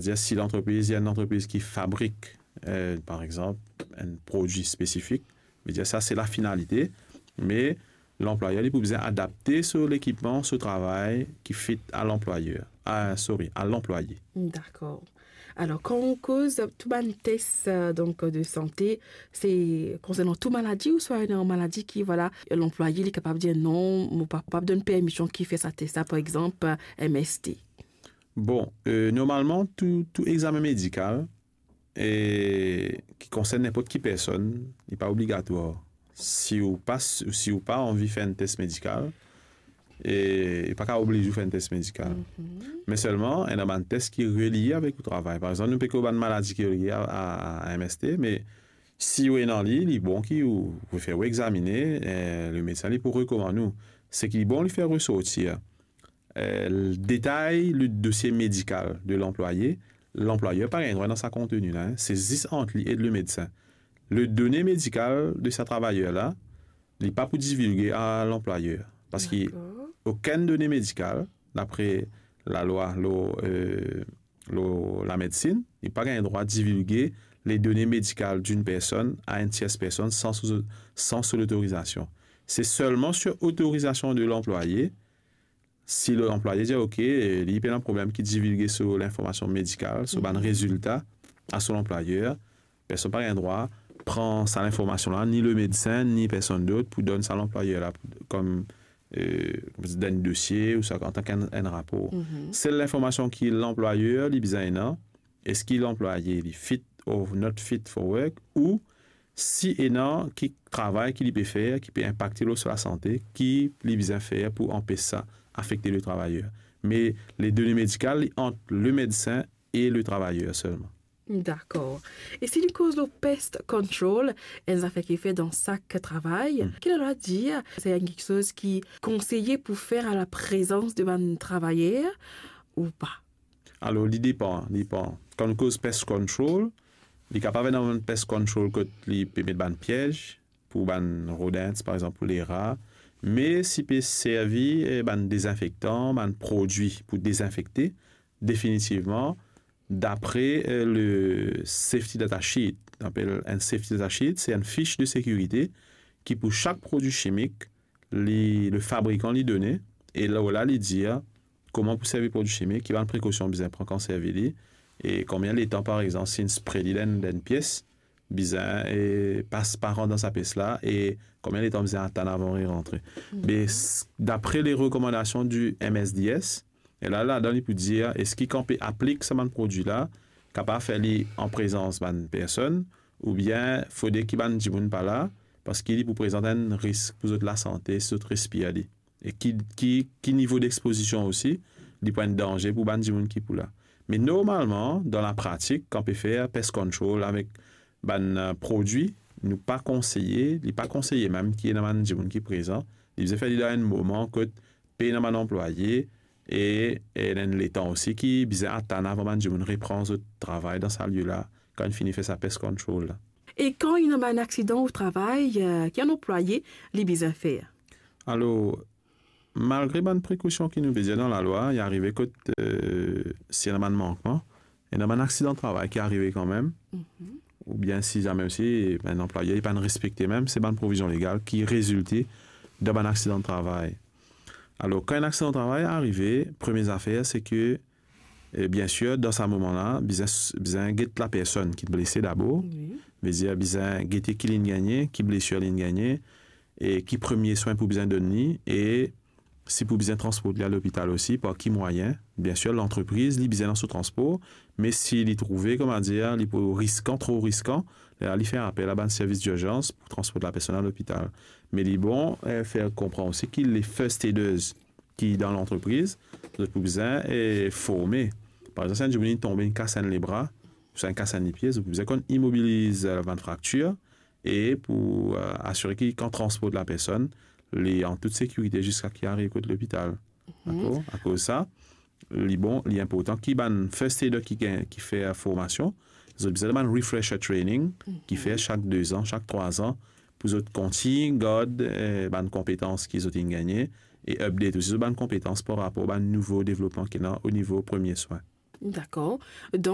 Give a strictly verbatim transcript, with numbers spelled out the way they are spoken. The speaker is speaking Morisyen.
Dir, si lantrepriz, li enn lantrepriz ki fabrik, eh, par exanp, enn prodwi spesifik, vedir sa se lafinalite, me lanplwayer li pou bizin adapte so lekipman, so travay ki fit a lanplwayer, a, sorry, a lanplwaye. Dakor. Alor, kan ou koz tou bann tes, eh, donk, de sante, se konsernan tou maladi ouswa ena maladi ki, vwala, lanplwaye li kapav dir, "Non, mo pa kapav donn permision ki fer sa tes la, par exanp, M S T"? Bon, eh, normalman, tou, tou examen medikal, eh, ki konsern ninport ki personn, li pa obligatwar. Si ou pa, si ou pa anvi fer enn tes medikal, eh, li pa kapav obliz ou fer enn tes medikal. Me selman, ena bann tes ki relie avek ou travay. Par exanp, nou pe koz bann maladi ki relie a, a, a M S T, me si ou ena li, li bon ki ou, ou fer ou examine, eh, lemedsin li pou rekomann ou. Seki li bon li fer resortir, eh, detay le dosie medikal de lanplwaye, lanplwayer pa gagn drwa dan sa konteni la, en. Se zis ant li ek lemedsin. Le done medikal de sa travayer la, li pa pou divilge a lanplwayer. Parski okenn done medikal, dapre lalwa lor, eh, lor lamedsin, li pa gagn drwa divilge le done medikal d'une personne à une tierce personne sans son, sans son autorisation. Se selman sur otorizasion de lanplwaye, si lanplwaye dir, "Ok, eh, li pena problem ki divilge so linformasion medikal, so bann rezilta a so lanplwayer," personn pa gagn drwa pran sa linformasion la, ni lemedsin, ni personn dot, pou donn sa lanplwayer la, pou, kom, eh, dan enn dosie, ouswa antank enn, enn rapor. Sel linformasion ki lanplwayer li bizin ena, eski lanplwaye li fit or not fit for work, ou si ena ki travay ki li pe fer, ki pe inpakte lor so lasante, ki li bizin fer pou anpes sa afekte le travayer. Me le done medikal, li ant lemedsin e le travayer selman. Dakor. E si nou koz lor pest control, enn zafer ki fer dan sak travay, ki lalwa dir, se enn kiksoz ki konseye pou fer a laprezans de bann travayer ou pa? Alor, li depan, li depan. Kan nou koz pest control, li kapav ena bann pest control kot li pe met bann piez pou bann rodent, par exanp, pou lera. Me si pe servi, eh, bann dezinfektan, bann prodwi pou dezinfekte, definitivman, dapre, eh, le safety data sheet. Apel enn safety data sheet, se enn fich de sekirite ki pou sak prodwi chimik, li, le fabrikan li done, e lor la li dir kouma pou servi prodwi chimik, ki bann prekosion bizin pran kan servi li, e konbien letan, par exanp, si inn spre li dan enn, dan enn pies, bizin, e, pas par an dan sa pies la, e konbien letan bizin atann avan li rantre. Me s-, dapre le rekomandasion di M S D S, e la, ladan li pou dir, eski kan pe aplik sa bann prodwi la, kapav fer li an prezans bann personn, oubien fode ki bann dimoun pa la, parski li pou prezant enn risk pou zot lasante si zot respir li. E ki, ki, ki nivo dexpozision osi, li pou enn danze pou bann dimoun ki pou la. Me normalman, dan lapratik, kan pe fer pest control avek bann, eh, prodwi, nou pa konseye, li pa konseye mem ki ena bann dimoun ki prezan. Li bizin fer li dan enn moman kot pena bann anplwaye e, e ena enn letan osi ki bizin atann avan bann dimoun repran zot travay dan sa lie la, kan inn fini fer sa pest control la. E kan ena bann aksidan o travay, eh, ki enn anplwaye li bizin fer? Alor, malgre bann prekosion ki nou pe dir dan lalwa, li arive kot, eh, si ena bann mankman, ena bann aksidan travay ki arive kanmem, oubien si zame osi, bann anplwayer li pa'nn respekte mem, se bann provizion legal ki rezilte dan bann aksidan travay. Alor, kan enn aksidan travay arive, premie zafer, se ke, eh, biensir, dan sa moman la, bizin, bizin get lapersonn ki blese dabor. Wi. Vedir, bizin gete ki li'nn gagne, ki blesir li'nn gagne, e ki premie swin pou bizin donn li, e si pou bizin transport li al lopital osi, par ki mwayin. Biensir, lantrepriz, li bizin dan so transpor, me si li trouve, kouma dir, li pou riskan, tro riskan, lerla li fer apel a bann servis dirzans pou transport lapersonn al lopital. Me li bon, eh, fer konpran osi ki le first aiders ki dan lantrepriz, zot pou bizin, eh, forme. Par exanp, si enn dimoun inn tonbe, inn kas enn lebra, ouswa inn kas enn lipie, zot pou bizin konn imobiliz, eh, bann fraktir, e pou, eh, asire ki kan transport lapersonn, li an tout sekirite ziska ki ariv kot lopital. Dakor? Akoz sa, li bon, li inportan ki bann first aider ki gagn, ki fer formasion, zot bizin bann refresher training, ki fer sak de zan, sak trwa zan, pou zot kontign gard, eh, bann konpetans ki zot inn gagne, e update osi zot bann konpetans par rapor bann nouvo devlopman ki ena o nivo premie swin. Dakor. Donk,